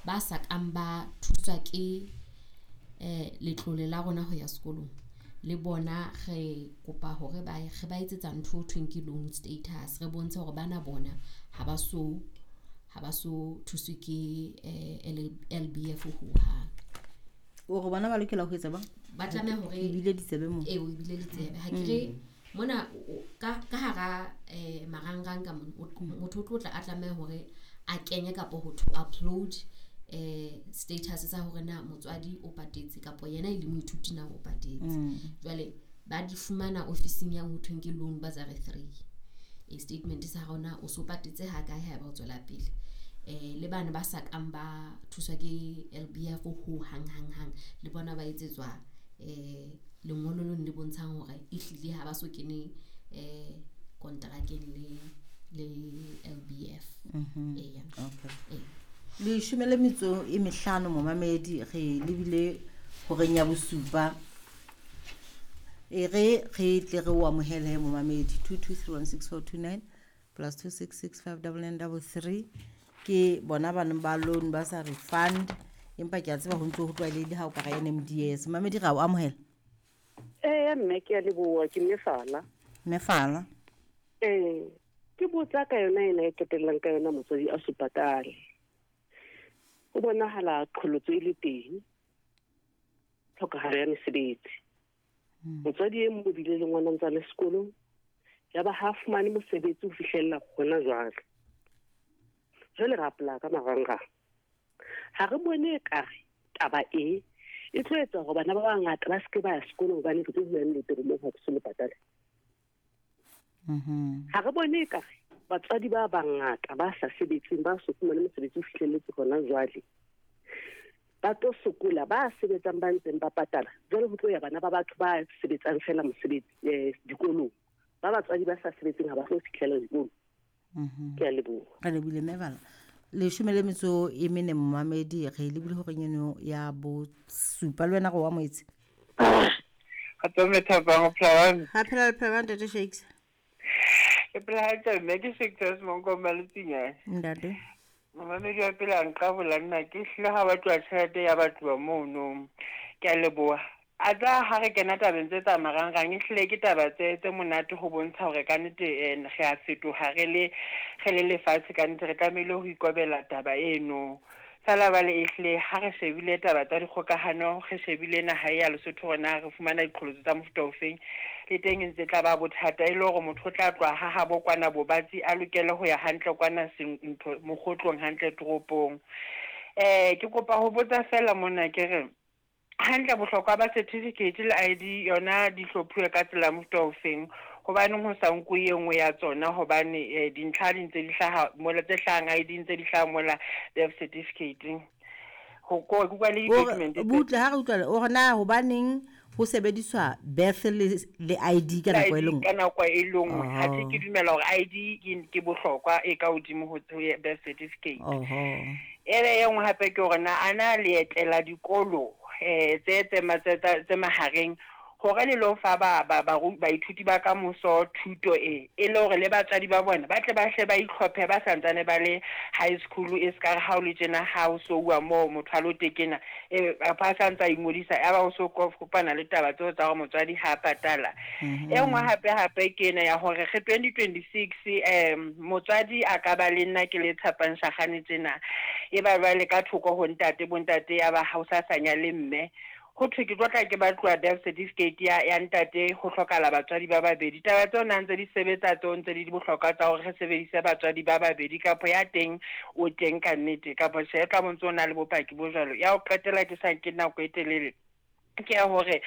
ba sa kang ba thuswa ke letlole la rona ho ya sekolong, le bona re kopa hore ba re ba etsetsa ntho ho thweng ke loan status. Re bontshe hore bana bona ha ba so thuswe ke LBF hohang. O re bona ba lokela ho etsa bang? Ba tlameha hore ebile ditsebe mo. Ee, o ebile ditsebe. Ha ke re mona ka hara marangrang ka mona, motho o tlo tla a tlameha hore a kenye kapa ho to upload status sa hore na motswadi o patetse kapa yena e le moithuti na o patetse. Jwale ba di fumana ofising ya ho thweng ke loan bursary 3. E statement sa rona o so patetse ha kae haeba o tswela pele. Le bana ba sa kang ba thuswa ke LBF ho hang hang hang, le bona ba etsetswa lengolo leno le bontshang hore ehlile ha ba so kene kontrakeng le LBF. Eya. Okay. 15 momamedi, re lebile horeng ya 7. E re re tle re o amohele momamedi 22316429 plus 2665933 ke bona bana ba loan bursary fund, empa ke a tseba ho ntse ho tlwaelehile ha o ka ra NMDS. Mamedi, ra o amohela. Ee mme, ke a leboha, ke Mefala. Mefala. Ee, ke botsa ka yona ena e qetellang ka yona motswadi a so patale. Ho bonahala qholotso e le teng, tlhokahalo ya mesebetsi. Motswadi e mong o bile le ngwana ntse a le sekolong, ya ba ha fumane mosebetsi ho fihlella hona jwale. Jwale re apply ka marangrang. Ha re bone ekare taba e tlo etsa hore bana ba bangata ba seke ba ya sekolong hobane re tlo bua nnete hore moo ha ke so le patale. Ha re bone ekare batswadi ba bangata ba sa sebetseng, ba so fumane mosebetsi o fihlelletse hona jwale, ba tlo sokola, ba sebetsang ba ntseng ba patala. Jwale ho tlo ya bana ba batho ba sebetsang fela mosebetsi dikolong, ba batswadi ba sa sebetseng ha ba tlo fihlela dikolong. Ke a leboha. Re lebile Mefala. 14 momamedi, re lebile horeng eno ya 7. Le wena re o amohetse. Kgotso mme Thabang, o phela jwang? Ha phela le phela jwang, Ntate Shakes? Ke phela hantle mme, ke Shakes Monkomba Letsinyane. Ntate. Momamedi wa pele a nqabola nna ke hlile ha batluwa tjhelete ya batluwa mono. Ke a leboha. A tsa ha re kena tabeng tse tsa marangrang, e hlile ke taba tse monate ho bontsha hore ka nnete re a fetoha re le lefatshe, ka nnete re tlamehile ho ikobela taba eno. Feela jwale e hlile ha re shebile taba tsa dikgokahano, re shebile naha ya Lesotho hore na re fumana diqholotso tsa mofuta ofeng, le teng e ntse tla ba bothata e le hore motho o tla tloha ha habo kwana Bobatsi a lokele ho ya hantle kwana ntho mokgotlong hantle toropong. Ke kopa ho botsa feela mona ke re hantle bohlokwa ba certificate le ID yona di hlophuwe ka tsela mofuta ofeng, hobaneng ho sa nkuwe e nngwe ya tsona, hobane dintlha di ntse di hlaha mola, tse hlahang ID ntse di hlaha mola birth certificate. Ho ko ke le document butle ha re utlwa o re na hobaneng ho sebediswa birth le ID ka nako e le nngwe? Ka nako e le nngwe. Ha ke dumela hore ID ke bohlokwa e ka hodimo ho birth certificate. Ebe e nngwe hape ke hore na ana le etela dikolo tse mahareng hore le lo fa baithuti ba ka moso thuto e le hore le batswadi ba bona ba tle ba hle ba itlhophe ba santsane ba le high school, e ska re ha o le tjena ha o so uwa moo motho a lo tekena ba santsa ingodisa ya ba o so kopana le taba tseo tsa hore motswadi ha patala. E nngwe hape ke ena ya hore re 2026 motswadi a ka ba le nna ke le Tshapang Shakgane tjena, e ba jwale ka thoko ho ntate, bontate ya ba ha o sa sanya le mme, ho thwe ke tlo tla ke batluwa birth certificate ya ntate, ho hlokahala batswadi ba babedi. Taba tseo na ntse di sebetsa tseo ntse di bohlokwa tsa hore re sebedise batswadi ba babedi, kapa ya teng o teng ka nnete, kapa tjhe tla bontse o na le bopaki bo jwalo. Ya ho qetela ke sa nke nako e telele ke ya hore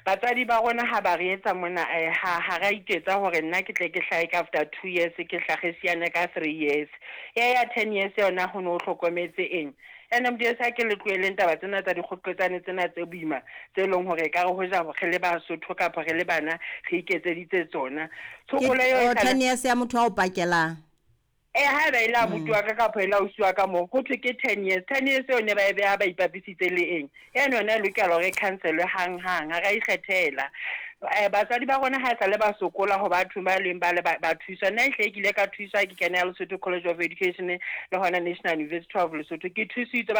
batswadi ba rona ha ba re etsa mona ha ra iketsa hore nna ke tle ke hlahe ka after 2 years, ke hlahe siane ka 3 years. Ya 10 years yona ho no hlokometse eng? NMDS ha ke le tlohelleng taba tsena tsa dikgoqetsane tsena tse boima tse leng hore ka re hoja re le Basotho kapa re le bana re iketseditse tsona. Tshokolo eo 10 years ya motho a o pakelang. Ha ba ile a butiwa ka kapa ile a usiwa ka moo, ho thwe ke 10 years. 10 years eo ne ba e beha ba ipapisitse le eng? Eno yona e lokela hore e cancel-we hang-hang, ha ra ikgethela. Batswadi ba rona ha esale ba sokola ho batho ba leng ba le ba thuswa. Nna ehlile ke ile ka thuswa ke kena Lesotho College of Education le hona National University of Lesotho. Ke thusitswe.